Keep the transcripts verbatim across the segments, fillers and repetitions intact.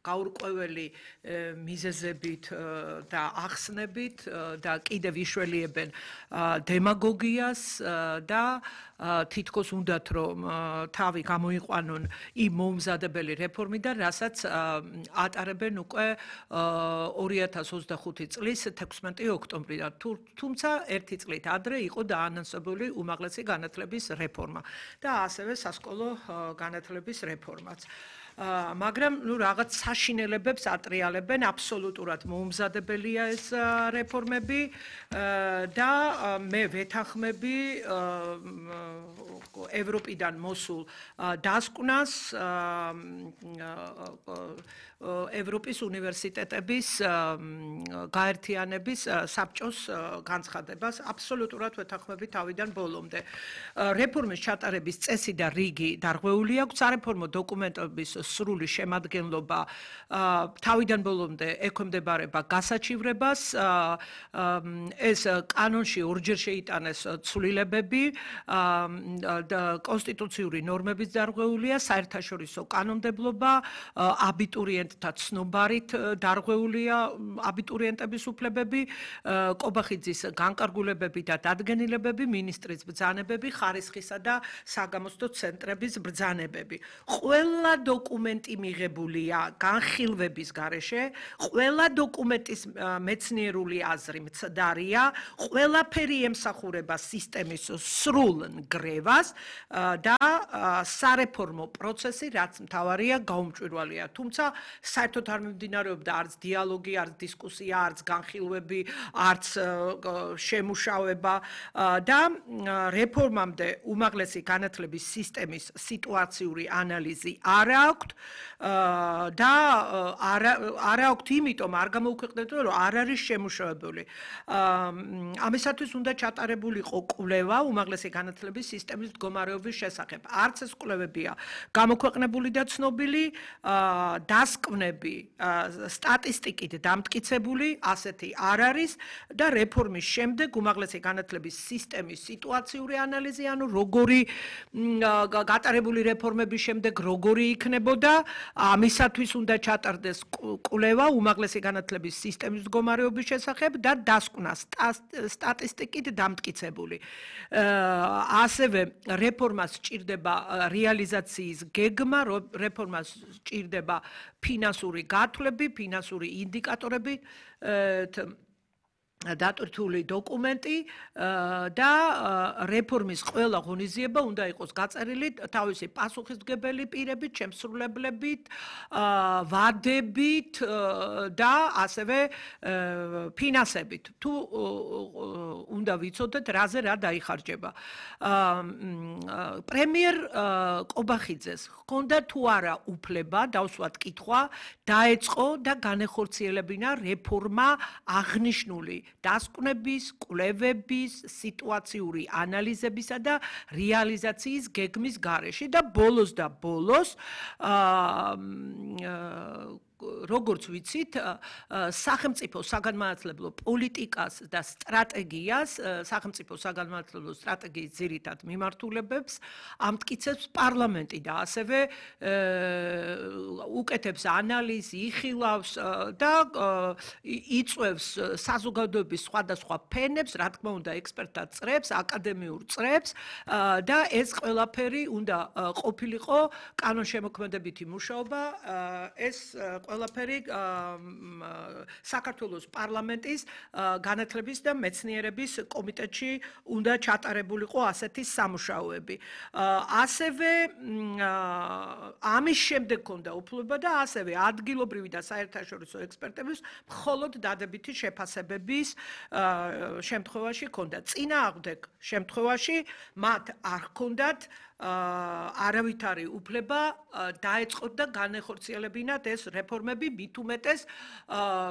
გაურკვეველი მიზეზებით და ახსნებით და კიდევ იშველიებენ დემაგოგიას და თითქოს უნდათ რომ თავი გამოიყვანონ იმ მომზადებელი რეფორმიდან, რასაც ატარებენ უკვე ორი ათას ოცდახუთი წლის თექვსმეტი ოქტომბრიდან. თუმცა ერთი წლით ადრე იყო დაანონსებული უმაღლესი განათლების რეფორმა და ასევე სასკოლო განათლების რეფორმაც. მაგრამ ნუ რაღაც საშინელებებს ატრიალებენ, აბსოლუტურად მოუმზადებელია ეს რეფორმები და მე ვეთანხმები ევროპიდან მოსულ დასკვნას ევროპის უნივერსიტეტების გაერთიანების საბჭოს განცხადებას აბსოლუტურად ვეთანხმები თავიდან ბოლომდე. რეფორმის ჩატარების წესი და რიგი დარღვეული აქვს, სარეფორმო დოკუმენტების სრული შემადგენლობა თავიდან ბოლომდე ექვემდებარება გასაჩივრებას. ეს კანონში ორჯერ შეიტანეს ცვლილებები, კონსტიტუციური ნორმების დარღვეულია, საერთაშორისო კანონმდებლობა, აბიტურიენტთა ცნობარით დარღვეულია აბიტურიენტების უფლებები, კობახიძის განკარგულებები და დადგენილებები, მინისტრის ბრძანებები, ხარისხისა და საგამოცდო ცენტრების ბრძანებები. ყველა დოკუმენტი მიღებულია განხილვების გარეშე, ყველა დოკუმენტის მეცნიერული აზრი მცდარია, ყველაფერი ემსახურება სისტემის სრულ ნგრევას და სარეფორმო პროცესი, რაც მთავარია, გაუმჭვირვალეა. თუმცა საერთოდ არ მიმდინარეობდა არც დიალოგი, არც დისკუსია, არც განხილვები, არც შემუშავება და რეფორმამდე უმაღლესი განათლების სისტემის სიტუაციური ანალიზი არ აქვს და არ აქვს იმიტომ არ გამოუქვეყნებთ, რომ არ არის შემუშავებული. ამისათვის უნდა ჩატარებულიყო კვლევა უმაღლესი განათლების სისტემის მდგომარეობის შესახებ. არც ეს კვლევებია გამოქვეყნებული და ცნობილი, დასკვნები სტატისტიკით დამტკიცებული, ასეთი არ არის და რეფორმის შემდეგ უმაღლესი განათლების სისტემის სიტუაციური ანალიზი, ანუ როგორი გატარებული რეფორმების შემდეგ როგორი იქნებოდა, ამისათვის უნდა ჩატარდეს კვლევა უმაღლესი განათლების სისტემის მდგომარეობის შესახებ და დასკვნა სტატისტიკით დამტკიცებული. ასევე რეფორმას სჭირდება რეალიზაციის გეგმა, რეფორმას სჭირდება ფინანსური გათვლები, ფინანსური ინდიკატორები, დატვირთული დოკუმენტი და რეფორმის ყველა ღონისძიება უნდა იყოს გაწერილი თავისი პასუხისმგებელი პირებით, შემსრულებლებით, ვადებით და ასევე ფინანსებით. თუ უნდა ვიცოდეთ, რაზე რა დაიხარჯება. პრემიერ კობახიძეს ჰქონდა თუ არა უფლება, დავსვათ კითხვა, დაეწყო და განეხორციელებინა რეფორმა აღნიშნული დასკვნების, კვლევების, სიტუაციური ანალიზებისა და რეალიზაციის გეგმის გარეშე და ბოლოს და ბოლოს როგორც ვიცით, სახელმწიფო საგანმანათლებლო პოლიტიკას და სტრატეგიას, სახელმწიფო საგანმანათლებლო სტრატეგიის ძირითად მიმართულებებს ამტკიცებს პარლამენტი და ასევე უკეთებს ანალიზი, იხილავს და იწვევს საზოგადოების სხვადასხვა ფენებს, რა თქმა უნდა, ექსპერტთა წრებს, აკადემიურ წრებს და ეს ყველაფერი უნდა ყოფილიყო კანონშემოქმედებითი მუშაობა, ეს ყველაფერი საქართველოს პარლამენტის განათლების და მეცნიერების კომიტეტში უნდა ჩატარებულიყო ასეთი სამუშაოები. ასევე ამის შემდეგ ჰქონდა უფლება და ასევე ადგილობრივი და საერთაშორისო ექსპერტების მხოლოდ დადებითი შეფასებების შემთხვევაში ჰქონდა. წინააღმდეგ შემთხვევაში მათ არ ჰქონდათ არავითარი უფლება დაეწყოთ და განეხორციელებინათ ეს რეფორმები, მით უმეტეს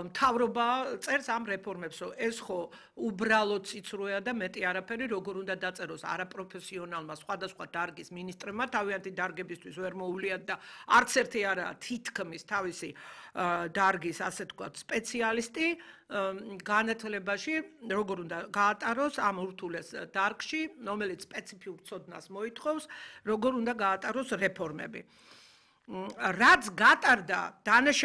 მთავრობა წერს ამ რეფორმებს, რომ ეს ხო უბრალოდ ციცრუეა და მეტი არაფერი, როგორ უნდა დაწეროს არაპროფესიონალმა სხვადასხვა დარგის მინისტრებმა, თავიანთი დარგებისთვის ვერ მოუვლიათ და არც ერთი არაა თითქმის თავისი დარგის, ასე თქვათ, სპეციალისტი განათლებაში, როგორ უნდა გაატაროს ამ ურთულეს დარგში, რომელიც სპეციფიურ ცოდნას მოითხოვს, როგორ უნდა გაატაროს რეფორმები. რაც გატარდა დანაშაული